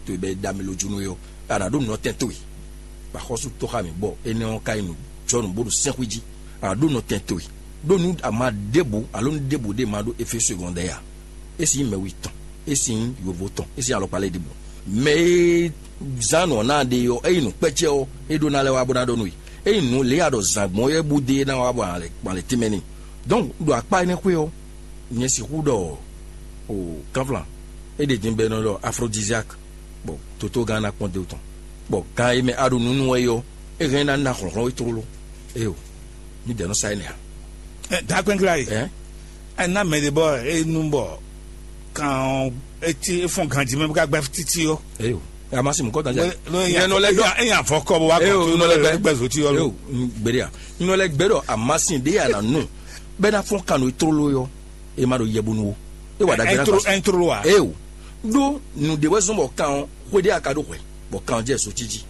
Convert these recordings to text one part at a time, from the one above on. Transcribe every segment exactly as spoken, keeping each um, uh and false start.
to e bɛ e ɖa mi lójúnú é ɔ́, a nǎ ɖó nɔtɛn towe. Bɔ axɔ́sú tó xá mǐ bɔ énɛ́ ɔ́ ka nyí nǔjɔnǔ bó ɖo sɛ́nxwí jí. A nǎ ɖó nɔtɛn towe. Ɖó nú ama ɖěbǔ alo nú ɖěbǔ ɖé ma ɖó efé segɔndɛ́ ǎ. É sin nyí mɛwi tɔn, é sin nyí yovo tɔn, é sin alɔkpa lɛ́ɛ ɖěbǔ. Mɛ e zán nǔ ɔ́ ná ɖe ɔ́, ényí nǔkpɛ́cɛ́ ɔ́, é ɖó ná lɛ́ wá bó ná ɖɔ nú we. Ényí nǔ lě a ɖɔ zǎn gbɔn é bú dé ná wá bɔ a lɛ tínmɛ n'i. Donc ɖo akpá énɛ́ xwé ɔ́, nyɛ sixú ɖɔ o kánflán é ɖe din bɔ è nɔ ɖɔ afrodisiak, bɔ tótógán ná kpɔ́n dó tɔn, bɔ gan e mɛ a ɖo nǔ nú wɛ é ɔ́, é hɛn ná ná hlɔ̌nhlɔ́n we tlóló. Éyo, mǐdɛɛ nɔ sa énɛ́ ǎ. Ɛ, dǎgbɛ́nglá e. Ɛ? Ɛ ná mɛ ɖé bɔ é nu bɔ kan ɔ́, é cí é fɔ́n ganjí mɛ bó ká gbɛ́ títí ɔ́. Éyo, amasi mukɔ dan jɛ. Nyɛ nɔ lɛ dɔ. É nya fɔ kɔ bó wá kɔ tó nɔ lɛ gbɛ zoti ɔ́. Éyo, gbede a. Nɔ lɛ gbɛ dɔ amasi ɖé a na nu. Bɛ na fɔ́n kan no tlóló yɔ. E ma ɖo yɛbunu o. E wa ɖagbe na gba. Ɛntro a? Eo. Ɖó nǔɖé wɛ zɔn bɔ kan ɔ́, xwé ɖé a ka ɖó hwɛ, bɔ kan ɔ́ jɛ zotí jí,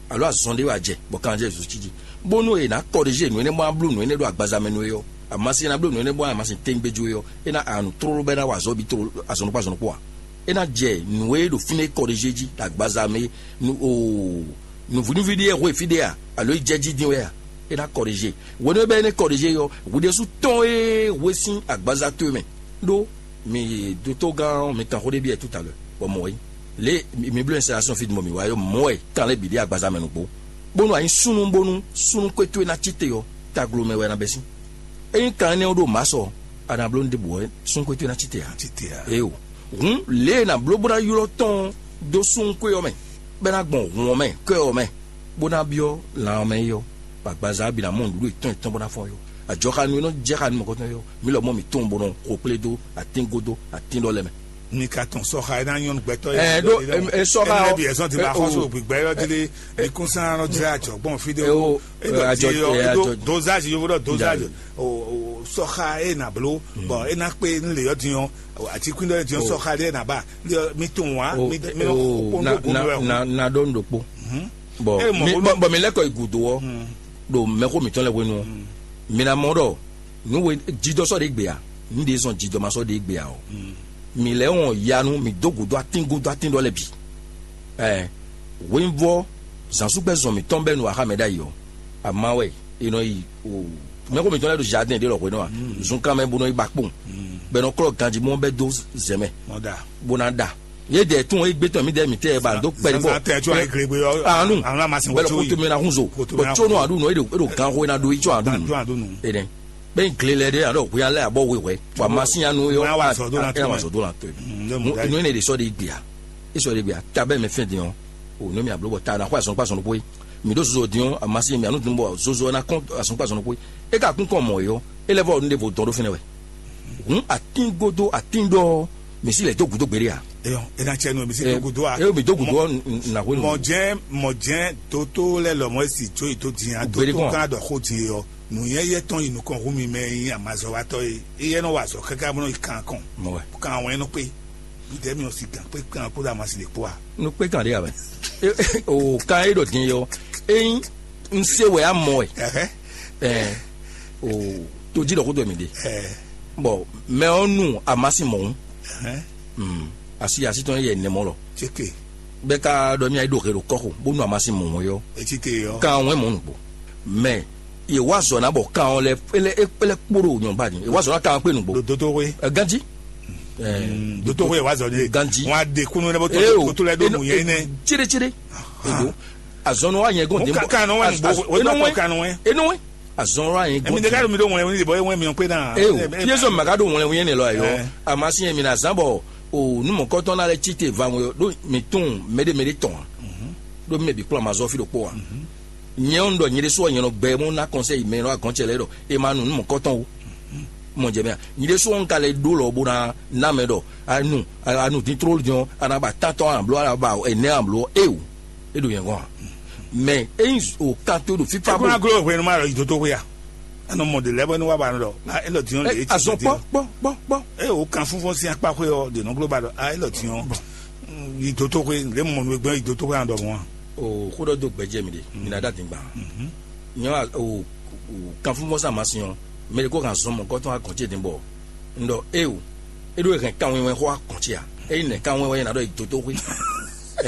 alo azɔn ɖé wɛ a jɛ, bɔ kan ɔ́ jɛ zotí jí, bónú è nǎ kɔɖize nǔ énɛ́ bó ná bló nǔ énɛ́ ɖó agbaza mɛ nú we ɔ́, amasi ná bló nǔ énɛ́ bó ná amasi tɛ́ngbé jó é ɔ́, é ná anu tlóló bɔ é ná wa azɔ̌ bǐ tlóló azɔ̌ nukpó azɔ̌ nukpó ǎ. É ná jɛ nǔ e ɖo fínɛ́ é kɔɖize jí ɖo agbaza mɛ é, nú oo nǔvínúví ɖé e hwe fí ɖé a, alo é jɛ jí dín wɛ a? É ná kɔɖize. Hwenu e bɛ́ é nɛ́ kɔɖize ɔ́, hwi ɖésú tɔ́n e hwe sín agbaza towe mɛ, ɖó mi dotogán ɔ́, mi kan xó ɖé byɔ́ ɛ tout à l'heure, bɔ mɔ̌ é. Lě mi bló installation fí din bɔ mǐ wá ɔ́, mɔ̌ wɛ kan lɛ́ɛ bǐ ɖe agbaza mɛ nǔgbó, bónú a nyí súnnu bónú súnnu kwé towe ná cí te ɔ́, taglo mɛ wɛ ná bɛ́ sín. Ényí kan énɛ́ ɔ́ ɖo mǎ sɔ, a nǎ bló nú ɖěbǔ wɛ súnnu kwé towe ná cí te ǎ. Cí te ǎ. Éyo. Hǔn lě e è nǎ bló bó ná ylɔ́ tɔn ɔ́ dó súnnu kwé ɔ́ mɛ, bɔ é ná gbɔn hǔn ɔ́ mɛ, kɔ́ ɔ́ mɛ, bó ná byɔ́ lan ɔ́ mɛ é ɔ́, bɔ agbaza ɔ́ bǐ ná mɔ nǔɖuɖu yětɔn yětɔn bó ná fɔ́n é ɔ́. Ajɔxanú e nɔ jɛ xá nú mɔ̌kɔtɔn é ɔ́, mǐ lɔmɔ̌ mǐ tunwun bó nɔ xo kplé dó atíngó dó atín ɖɔ lɛ́ɛ mɛ. Mi ka tɔn sɔxa e ná nyɔ́ nú gbɛtɔ́ e Ɛ ɖó ɛ, ɛ, sɔxa ɛ, ɔ, bia ɛsɔn ti ɛ, ba xɔsɔ o. Gbígbɛ yɔ ti lé ikúnsán nɔ jẹ àjọgbọn fi de Ɛ, o. O, E ɛ, dɔ ajɔ- di ɔ ɛ, e dɔ ajɔ- dozage yovo dɔ dozage. Dozage. O o sɔxa e na blo bɔn e na kpe n le yɔ din ɔ ati kun dɔ din ɔ O. Sɔxa de na ba le mi tun wa O, mi mi o, o na, kpɔn na, do na, na ɖɔ nu ɖokpo. Mhm. Bɔn E mɔ mi ko bɔn bɔn mi lɛkɔ yi gudo ɔ ɖo mɛxó mitɔn lɛ hwenu ɔ, mi na mɔ ɖɔ nu we jidɔ sɔ de gbe a, nu de zɔn jidɔ ma sɔ de gbe a ɔ, mi lɛ wɔn yanu mi do gudo atin gudo atin ɖɔ lɛ bi. Ɛ, hwenvɔ zansugbɛ zɔn mitɔn bɛ nu axa mɛ ɖ'ayi ɔ, ama wɛ e nɔ yi o mɛxó mitɔn lɛ ɖo jardin ɖe lɔ hwenu a, zunkan mɛ bo nɔ yi ba kpɔn, bɛ nɔ klɔ ganji mɔ bɛ do zɛmɛ, Mɔda. Bo na ɖa. Ye dɛ tún e gbé tɔn mi dɛ mi tɛ ba do kpɛli bɔ. Zanzan tɛ tún ayi glegbe yɔ. Anu. Anu ma sin Bɛlɛ wotso kutu yi. Mi na hun zo. Kutu mi Bɔ na tso hun no zo. Adu no e do e do gan ho e na do yi tso adu. Gan tún adu nu. Ene. Bɛ n gle lɛ de alo hu ya lɛ abɔ we wɛ. Wa ma sin anu yɔ. Wa wa zɔ do na to. Wa zɔ do na to. Mm, ne mu Mu da yi. Inu ne de sɔ de gbia. E sɔ de gbia. Ta bɛ mɛ fɛn de yɔ. O ne mi ablo bɔ ta na xɔ azɔn kpa zɔn ko yi. Mi do zozo de yɔ. A ma sin mi anu dun bɔ zozo na kɔn azɔn kpa zɔn ko yi. E ka kun kɔn mɔ yɔ. E lɛ vɔ nu de vo dɔn do fɛnɛ wɛ. Hun atin godo atin ɖɔ misi lɛ do gudo gbede a. Eyɔ, ena cɛ nu misi Eh, do gudo a. Eh, mi do gudo Mɔ- ɔ, n- n- na hwenu. Mɔ jɛn mɔ jɛn toto lɛ lɔmɔ esi tso yi to dinya Gbede toto kɔn. Kan dɔ xo di yɔ. Nu yɛ yɛ tɔn yi nukɔn hu mi mɛ yi amazɔwatɔ ye. Eyɛ nɔ wa zɔ kaka bɔ nɔ yi kan kɔn. Mɔ wɛ. Kan wɛn nɔ kpe. Mi dɛ mi ɔ si gan kpe kan kó da ma si le kpo a. Nu kpe kan de a bɛ. O kan e ɖo din yɔ. Eyin n se wɛ a mɔ wɛ. Ɛhɛ. Ɛ o to ji ɖɔ ko dɔ mi de. Ɛ. Bɔn mɛ ɔ nu amasi mɔhun. Ɛhɛ. Mm. Asi asi tɔn yɛ nɛmɔ lɔ. Tseke. Bɛ ka ɖɔ mi ayi ɖo he ɖo kɔxo bó nu amasi mɔhun yɔ. Etsi te yɔ. Kan wɛn mɔ nugbo. Mɛ ye wa zɔ na bɔ kan lɛ ele ele kpo ɖo nyɔba ni ye wa zɔ na kan kpe nugbo. Ɖo dotoxwe. Ɛ ganji. Ɛ Dotoxwe ye wa zɔ ne. Ganji. Wọn a de kunu ne bɔ Eo. Toto lɛ do Eno- mu yɛ ne. Tsere tsere. Ego. Azɔnɔ wa yɛn gɔn Mo den bɔ. Kan kan nɔ wɛ nugbo. Wɛ dɔ kɔ kan nɔ wɛ. Eno wɛ. Azɔnɔ wa yɛn Emi gɔn de ka den. Do mi do ŋlɛ wɛn de bɔ ewɛ mi ɔn pe na. Eo. Ye zɔ maga do ŋlɛ wɛn ne lɔ ayɔ. Ɛ. Amasi yɛn mi na zan bɔ o numɔkɔtɔn na lɛ tsi te va ŋɔ ɖo mi tún mɛɖe mɛɖe tɔn. Ɖo mi mɛ bi kplɔn amazɔ fi ɖokpo wa. Nyɛ ŋu ɖɔ nyɛ ɖésú ɔ nyɛ nɔ gbɛ mɔ ná kɔnsɛyi mɛ nɔ agɔn cɛ lɛ ɖɔ e ma nu nu mɔkɔtɔn o. Mɔ jɛ mɛ a nyɛ ɖésú ɔ ŋka lɛ ɖó lɔ bo na na mɛ ɖɔ anu anu dín tló jɔn ana ba tantɔn ana bló ana ba ɛnɛ ana bló e o e ɖo yɛn gɔn a mɛ e yin o kan to ɖo fifa Ekuna bo glo hwenu ma lɔ yi dodo hwe ya. Anɔ mɔ de lɛ bɔ ni wa ba nɔ dɔ. A elɔ diɲɔ le eti azɔn kpɔ kpɔ kpɔ kpɔ. E o kan fúnfún sí akpa hwe ɔ de nɔ glo ba dɔ a elɔ diɲɔ. Yi dodo hwe le mɔ nu gbɛ yi dodo hwe anɔ dɔ mɔ. O xó ɖɔ dó gbɛjɛ mi ɖe mi na ɖa dingba. Nyɔ o o kanfúnvɔsá ma sin ɔ mɛ ɖe kó hàn zɔn mɔgɔtɔn agɔn ce din bɔ n ɖɔ e o e ɖo hɛn kan wɛnwɛn xó akɔn ce a eyi nɛ kan wɛnwɛn na ɖɔ yi dodo xwé.